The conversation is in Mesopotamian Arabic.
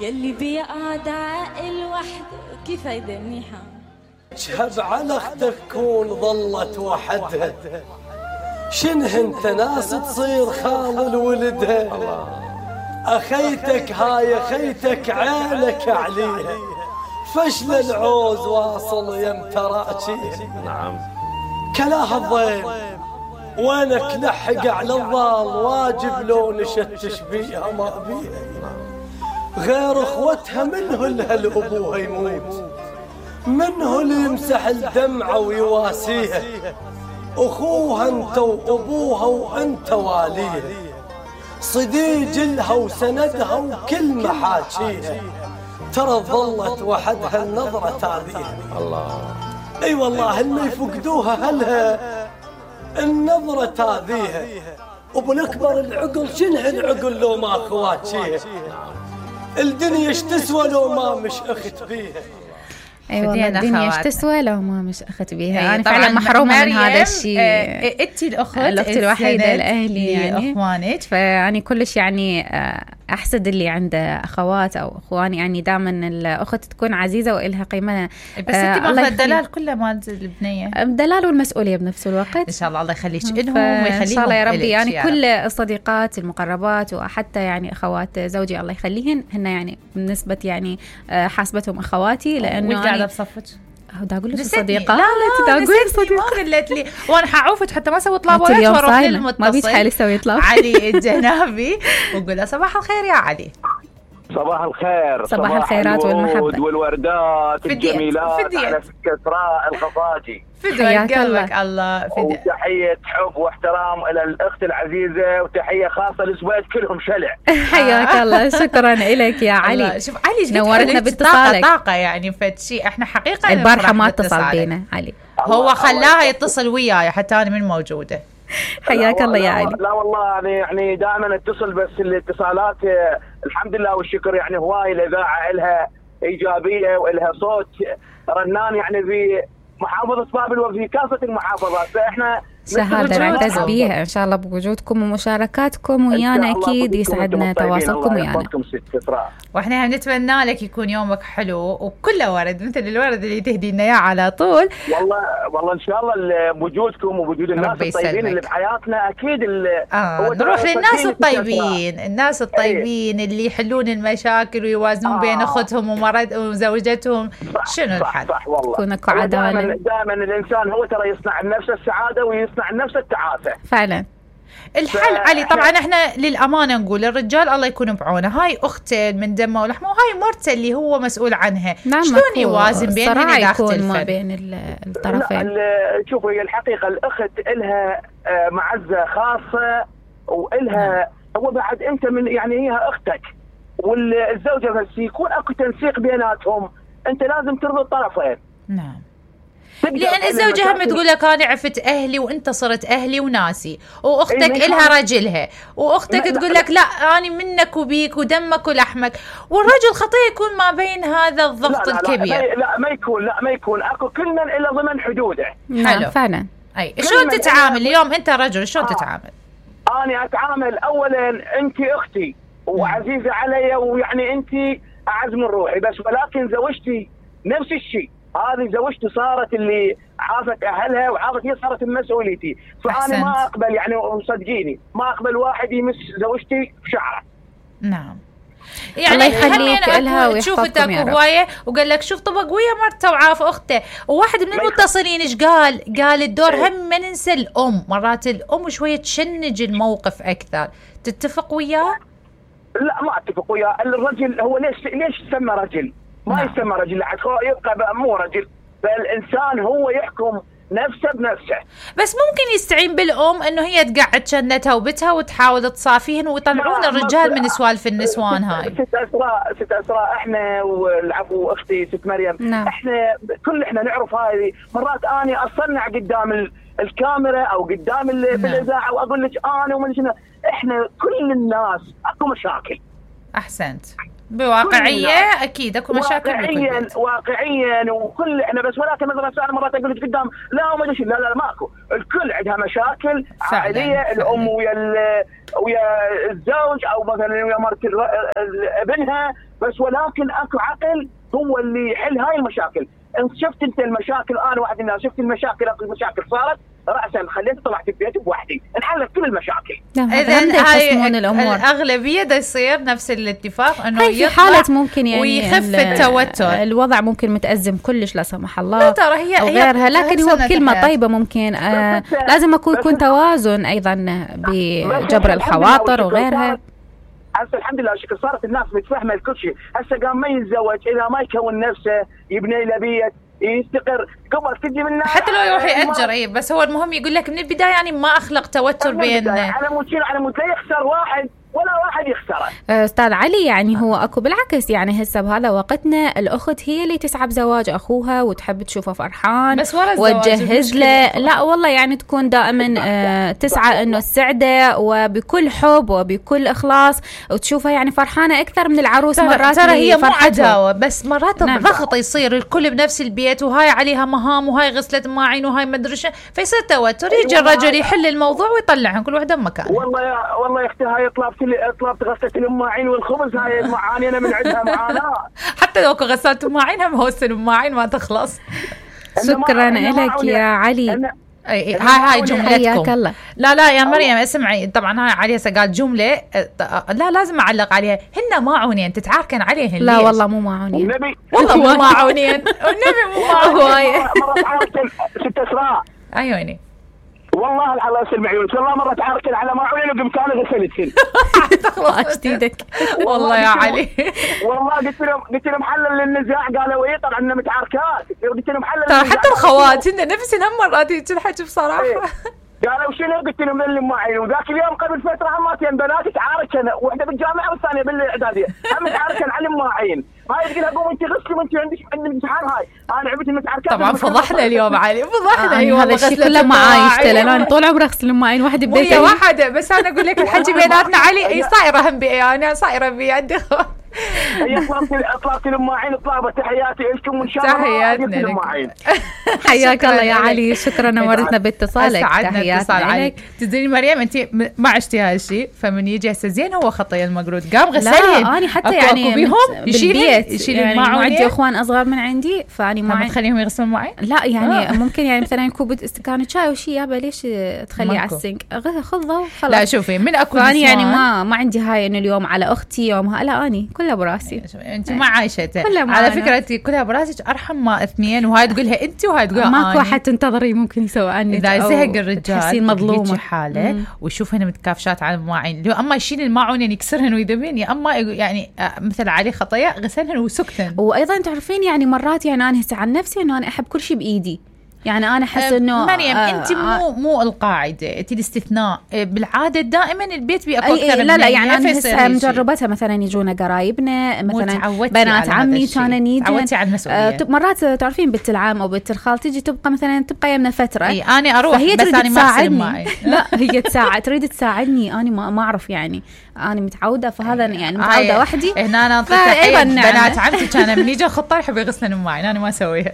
يلي بيقعد عاقل وحده كيف هيدا منيحة. شهب على اختك كون ظلت وحدها، شنه انت ناس تصير خال ولدها. اخيتك هاي اخيتك عينك عليها، فشل العوز واصل يم تراجيها. نعم كلاها الضيم وينك لحق على الضال، واجب لو نشتش بيها ما بيها. غير اخوتها منه الابوها يموت، منه اللي يمسح الدمعة ويواسيها. اخوها انت وابوها وانت واليها، صديق لها وسندها وكل محاكيها. ترى ظلت وحدها النظرة تاذيها. الله اي والله اللي يفقدوها هلها النظرة تاذيها. وبالاكبر العقل شنه العقل لو ما اخواتيها، الدنيا ايش تسوى لو ما مش اخت بيها. اي والله الدنيا ايش تسوى لو ما مش اخت بيها. انا فعلا طبعاً محرومه من هذا الشيء. انت الاخت الوحيده لاهلي يعني اخوانك، فيعني كلش يعني احسد اللي عنده اخوات او اخوان. يعني دائما الاخت تكون عزيزه والها قيمه. بس انت ماخذه الدلال كله مال البنيه، الدلال والمسؤوليه بنفس الوقت. ان شاء الله الله يخليك لهم ويخليهم ان شاء الله يا ربي. يعني يا كل الصديقات المقربات وحتى يعني اخوات زوجي الله يخليهن هن يعني بالنسبه يعني حاسبتهم اخواتي، لانه قاعده بصفك دا اقول لك صديقه. لا اقول صديقه ما قلت لي وانا حعوفك حتى ما سويت طلبات واروح للمتصل ما بيتحالي سوي طلب علي الجنابي واقول له صباح الخير يا علي. صباح الخير، صباح الخيرات والمحبة والوردات الجميلات على فك إسراء الخفاجي. حياك الله وتحية حب واحترام إلى الأخت العزيزة، وتحية خاصة لزويد كلهم شلع. حياك الله، شكرا لك يا علي. شوف علي نورتنا باتصالك. طاقة يعني فتشي احنا حقيقة البارحة ما اتصل بينا علي، هو خلاها يتصل وياي حتى أنا من موجودة. حياك الله يا علي. لا والله يعني دائما اتصل، بس الاتصالات الحمد لله والشكر يعني هواي الإذاعة إلها إيجابية وإلها صوت رنان يعني في محافظة بابل وفي كافة المحافظات. فإحنا شهادة نعتز بيها إن شاء الله بوجودكم ومشاركاتكم ويانا. أكيد يسعدنا تواصلكم ويانا، وإحنا نتمنى لك يكون يومك حلو وكله ورد مثل الورد اللي تهدي لنا إياه على طول. والله إن شاء الله بوجودكم وبوجود الناس الطيبين اللي بحياتنا أكيد. نروح للناس الطيبين، الناس الطيبين اللي يحلون المشاكل ويوازنون بين أختهم وزوجتهم. شنو الحل؟ صح والله. كونك عدالة. دائما الإنسان هو ترى يصنع لنفسه السعادة ويصنع لنفسه التعاسة. فعلا الحل علي. طبعا احنا للأمانة نقول الرجال الله يكون بعونه، هاي أخته من دمه ولحمه وهاي مرته اللي هو مسؤول عنها. نعم شلون يوازن بينهم إذا يكون ما بين الطرفين؟ شوفوا هي الحقيقة الأخت إلها معزة خاصة وإلها هو بعد أنت من يعني هي أختك، والزوجة بس يكون أكو تنسيق بيناتهم، أنت لازم ترضي الطرفين. نعم، لأن الزوجة هم تقول لك أنا عرفت أهلي وأنت صرت أهلي وناسي، وأختك إلها رجلها، وأختك تقول لك لا أنا منك وبيك ودمك ولحمك، والرجل خطير يكون ما بين هذا الضغط الكبير. لا ما يكون أكو كل من إلى ضمن حدوده. حلو فعلا. أي شلون تتعامل اليوم أنت رجل شلون تتعامل؟ أنا أتعامل أولا أنت أختي وعزيزة علي، ويعني أنت أعز من روحي، بس ولكن زوجتي نفس الشيء. هذه زوجتي صارت اللي عافت أهلها وعافت هي صارت مسؤوليتي، فأنا ما أقبل يعني وصدقيني ما أقبل واحد يمس زوجتي بشعره. نعم يعني الله يخليك لها ويحفظكم يا رب. هواية وقال لك شوف طبق ويا مرته وعاف أخته. وواحد من المتصلين إيش قال الدور هم ما ننسى الأم، مرات الأم شوية تشنج الموقف أكثر. تتفق وياه؟ لا ما أتفق وياه. الرجل هو ليش يسمى رجل؟ ما يسمى رجل لحد يبقى مو رجل، فالإنسان هو يحكم نفسه بنفسه. بس ممكن يستعين بالأم إنه هي تقعد شنتها وبتها وتحاول تصافيهن ويطلعون الرجال من سوالف النسوان هاي. ست أسراء إحنا والعفو أختي ست مريم إحنا احنا نعرف هاي. مرات أنا أصنع قدام الكاميرا أو قدام بالإذاعة وأقول لك أنا ومن شنو إحنا كل الناس أكو مشاكل. أحسنت. بواقعيه اكيد اكو مشاكل واقعيا وكل احنا بس، ولكن مثلا انا مرات اقول لك قدام لا ما ادري، لا ماكو، الكل عندها مشاكل عائليه، الام ويا الزوج او مثلا ويا مرت ابنها، بس ولكن اكو عقل هو اللي يحل هاي المشاكل. انت شفت انت المشاكل، انا واحد من الناس شفت المشاكل، اكو مشاكل صارت رأسا خليت طلعت البيت بوحدي انحلت كل المشاكل. اذا هاي الاغلبيه دا يصير نفس الاتفاق انه في حالة ممكن يعني ويخف التوتر، الوضع ممكن متأزم كلش لا سمح الله لا ترى هي او غيرها، لكن هو بكلمة طيبة ممكن لازم يكون توازن ايضا بجبر الخواطر وغيرها. هسه الحمد لله شكل صارت الناس متفهمه الكل شيء، هسه قام ما يتزوج اذا ما يكون نفسه يبني له بيت يستقر قبل تجي من حتى لو يروح يأجر بس هو المهم يقول لك من البدايه يعني ما اخلق توتر بين على مود لا يخسر واحد ولا واحد يخسره. استاذ علي يعني هو اكو بالعكس، يعني هسه بهذا وقتنا الاخت هي اللي تسعى بزواج اخوها وتحب تشوفه فرحان بس ورا وتجهز له، لا والله يعني تكون دائما تسعى انه تسعده وبكل حب وبكل اخلاص وتشوفها يعني فرحانه اكثر من العروس. مرات ترى هي مو عداوه، بس مرات الضغط يصير الكل بنفس البيت وهاي عليها مهام وهاي غسلت مواعين وهاي ما ادري فيصير توتر، يجي الرجل يحل الموضوع ويطلعهم كل وحده بمكان. والله يا اختي هاي طلبت غسالة المواعين والخبز، هاي المعاني انا من عندها معاناة. حتى لو غسالة المواعين هم هوس المواعين ما تخلص. شكرا لك يا علي. هاي جملتكم. لا يا مريم اسمعي، طبعا هاي علي هسه قال جمله لا لازم اعلق عليها، هن ماعونين تتعاركن عليهن. لا والله مو ماعونين، والله مو ماعونين، والنبي مو ماعونين. مرة تعاركن ست اسراء. عيوني والله الله يسلم عيونك، والله مرة تعاركن على ماعونين وقمت انا غسلتهن. تخلص ايدك والله يا علي. والله قلت لهم حلل للنزاع، قالوا ايه طبعا اننا متعاركات، قلت لهم حلل ترى حتى الخوات هن نفس هم مرات تنحكي بصراحه. قالوا شنو؟ قلت لهم من المعين. وذاك اليوم قبل فتره هماتين بنات تعاركن، واحده بالجامعه والثانيه بالاعداديه، هم تعاركن على المواعين. هاي تقول قوم انت غسلي وانت عندك امتحان. هاي انا عرفت المتعاركات طبعا فضحنا اليوم علي، فضحنا. ايوه هذا الشيء كله معايش انا طول عمري اغسل المواعين وحده ببيتي واحده، بس انا اقول لك الحكي بيناتنا علي اي صايره هم بي، انا صايره بي عندي. هي طلبت المواعين، طلبت تحياتي لكم وان شاء الله تحياتنا. حياك الله يا علي، شكرا نورتنا باتصالك. تحياتنا لك. تدري مريم انت ما عشتي هذا الشيء، فمن يجي هسه زين هو خطي المقرود قام غسلين. لا انا حتى يعني بيهم يشيل يعني عندي اخوان اصغر من عندي، فاني ما تخليهم يغسلون معي. لا يعني ممكن يعني مثلا كوب استكان شاي وشي يابا ليش تخليه على السنك، خذه وخلاص. لا شوفي من اكو يعني ما عندي هاي انه اليوم على اختي يومها، لا اني كلها براسي. انت ما عايشتها على فكره، انت كلها براسك ارحم ما اثنين، وهاي تقولها انت وهاي تقولها ماكو احد تنتظري ممكن يسوي عني. اذا زهق الرجال تحسين مظلومه حاله ويشوفهن متكافشات على المواعين، لو اما يشيل الماعون يكسرهن ويذبين، يا اما يعني مثل عليه خطايا غسلهن وسكتن. وايضا تعرفين يعني مرات يعني انا هسه عن نفسي انه انا احب كل شيء بايدي، يعني انا احس انه مريم انت مو القاعده، انت الاستثناء. بالعاده دائما البيت بيأكل اكثر من لا يعني انا هسه مجربتها، مثلا يجونا قرايبنا مثلا بنات عمي كانوا يجون. تعودتي على المسؤوليه. مرات تعرفين بنت العم او بنت الخال تجي تبقى مثلا تبقى يمنا فتره، انا اروح فهي بس انا ما تساعدني. لا هي تريد تساعدني، انا ما اعرف يعني انا متعوده، فهذا يعني متعوده وحدي. هنا انا بنات عمتي كانوا من يجوا خطار يحبوا يغسلن معي، انا ما اسويها.